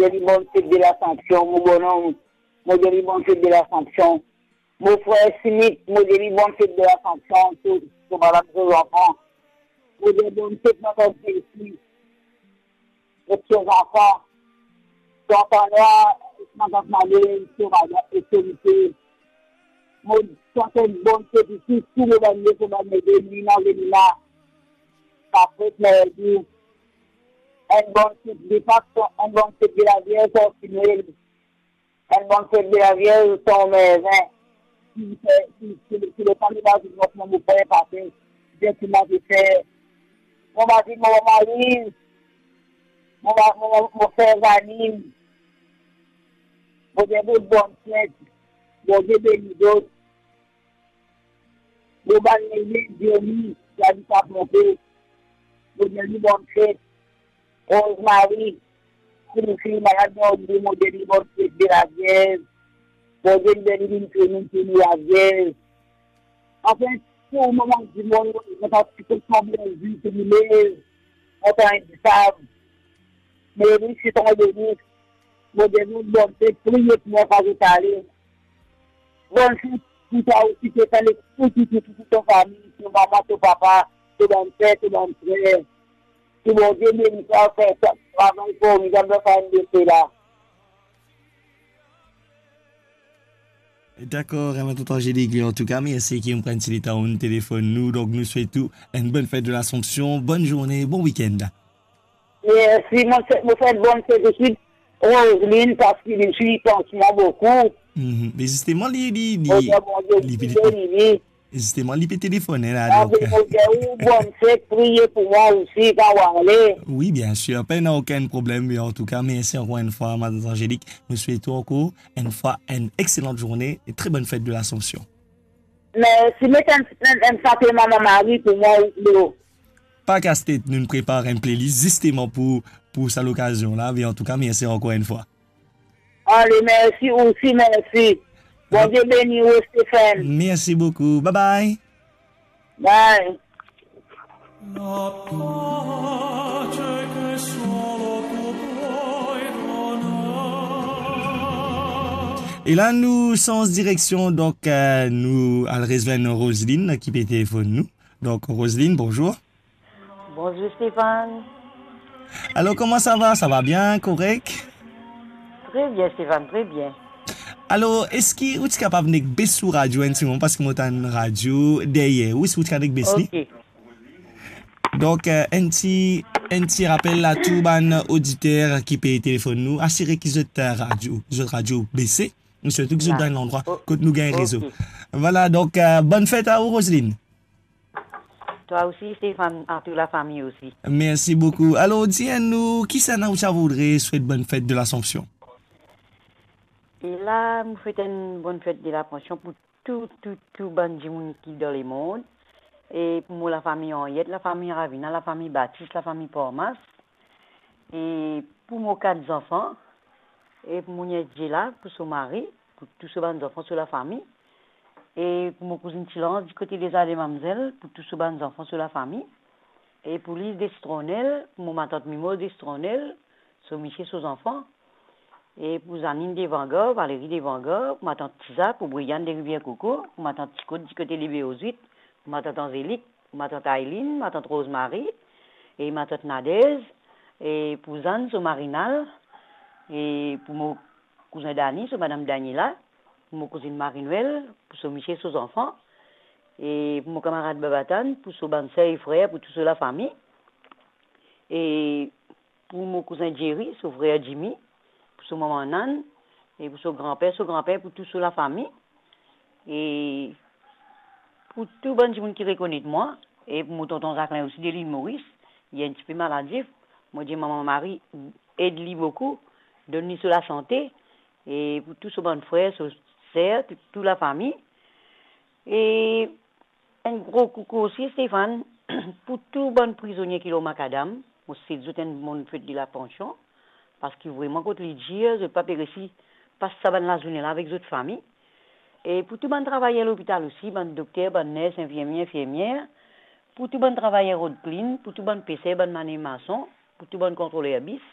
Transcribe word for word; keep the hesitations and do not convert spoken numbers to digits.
Mo dir li bonn fet de Lasansion, mo bonom, mo dir li bonn fet de Lasansion. Mo frer Simit, mo dir li bonn fet de Lasansion, to, to madam, to zanfan. Mo dir bonn fet, mo frer Simit, ek to zanfan. To zanfan la, ek mo zanfan la, to madam, ek to mete. Mo swet enn bonn fet isi, tou mo bann, mo bann, mo bann, Lina, Lina. Sa fet merdi. Enn bonn fet de Pak, enn bonn fet de Lavierz, San Noel. Enn bonn fet de Lavierz, San Mervin. Ki, ki, ki, ki letan li pa vinn, mo, mo fer pase, bien ki mo pe fer. Mo mari, mo mari, mo ma-, mo, mo, mo frer Zanin. Mo dir zot bonn fet. Bondie beni zot. Mo bann nene, Johnny, ki abit Aponte, mo dir li bonn fet. Rosemary, ki nou finn malad, mo dir, mo dir li bonn fet de Lavierz. Bondie beni li, vinn touzour, vinn touzour Lavierz. Anfin, tou mo bann dimoun, mo pa ti pe konbien vi ki li lev, mo pa enn disav. Me li, se ton beni. Mo dir zot bonn fet, priye pou mwa kan zot ale. Bonn fet pou twa osi, Stefan, ek pou tou, tou, tou, tou to fami, to mama, to papa, to bann ser, to bann frer. Ki Bondie beni twa, fer sa travay formidab dan sa enn de la. Dakor, eh, tonton Angelik, antouka, mersi ki ou pran ti letan ou'nn telefonn nou. Donk, nou swet ou enn bonn fet de Lasansion, bonn zourne, bon wikenn. Mersi, mo fer, mo fer bonn fet osi Roseline, parski li, li pans mwa boukou. Mhm. Me zisteman, li, li, li, Bondie li, li, li, li, li, zisteman, li pe telefone la, donk. Mo dir ou bonn fet, priye pou mwa osi, kan ou ale. Wi, bien sir, pena okenn problem, me antouka, mersi ankor enn fwa, Madanm Angelik. Nou swet ou ankor enn fwa enn exelan zourne e tre bonn fet de Lasansion. Mersi, met enn, enn, enn sante Mama Mari pou mwa, ou, Pa kas tet, nou prepar enn playlist zisteman pou, pou sa lokazion la. Me antouka, mersi ankor enn fwa. Ale, mersi osi, mersi. Bondie beni ou, Stefan. Mersi boukou. Bye bye. Bye. E la, nou sanz direksion, donk, eh, nou al rezwenn Roseline ki pe telefonn nou. Donk, Roseline, bonzour. Bonzour, Stefan. Alor, kouma sa va? Sa va bien, korek? Tre bien, Stefan, tre bien. Alor, eski ou ti kapav nek bes ou radio enn ti moman, parski mo tann radio deryer ou, eski ou ti kapav nek bes li? Ok. Donk, eh, enn ti, enn ti rapel a tou bann oditer ki pe telefonn nou, asire ki zot, eh, radio, zot radio bese, e sirtou ki zot dan enn landrwa kot nou gagn rezo. Vwala, donk, eh, bonn fet a ou, Roseline. Twa osi, Stefan, a tou lafami osi. Mersi boukou. Alor, dir nou, kisannla ou ti a voudre swet bonn fet de Lasansion? E la, mo swet enn bonn fet de Lasansion pou tou, tou, tou bann dimoun ki dan lemond. E pou mo lafami Henriette, lafami Ravina, lafami Batis, lafami Parmas. E pou mo kat zanfan, e pou mo niet Diela, pou so mari, pou tou so bann zanfan, so lafami, e pou mo kouzinn Tilans, di kote Deza Demamzel, pou tou so bann zanfan, so lafami, e pou Liz Destronel, pou mo matant Mimoz Destronel, so misie, so zanfan, e pou Zanine Devangar, Valerie Devangar, pou matant Tiza, pou Briane de Rivière Coco, pou matant Tikot, di kote Libeozwit, pou matant Anzelik, pou matant Ailine, matant Rosemary, e matant Nadez, e pou Zann, so mari Nal, e pou mo kouzin Dani, so madam Daniela, pou mo kouzinn Marie-Noël, pou so misie, so zanfan, e pou mo kamarad Babatane, pou so bann ser e frer, pou tou so lafami, e pou mo kouzin Jerry, so frer Jimmy, pou so mama Nan, e pou so granper, so granper, pou tou so lafami, e pou tou bann dimoun ki rekonet mwa, e pou mo tonton Zaklin osi de Lil Moris, li enn tipe maladif, mo dir Mama Mari, ed li boukou, donn li so lasante, e pou tou so bann frer, so ser, tou, tou lafami. E enn gro koukou osi, Stefan, pou tou bann prizonie ki lor makadam, mo swet zot enn bonn fet de Lasansion, parski vreman kot li dir, zot pa pe resi pas sa bann lazourne la avek zot fami. E pou tou bann travayer lopital osi, bann dokter, bann ners, infirmie, infirmier, pou tou bann travayer rod klin, pou tou bann peser, bann manev mason, pou tou bann kontroler bis,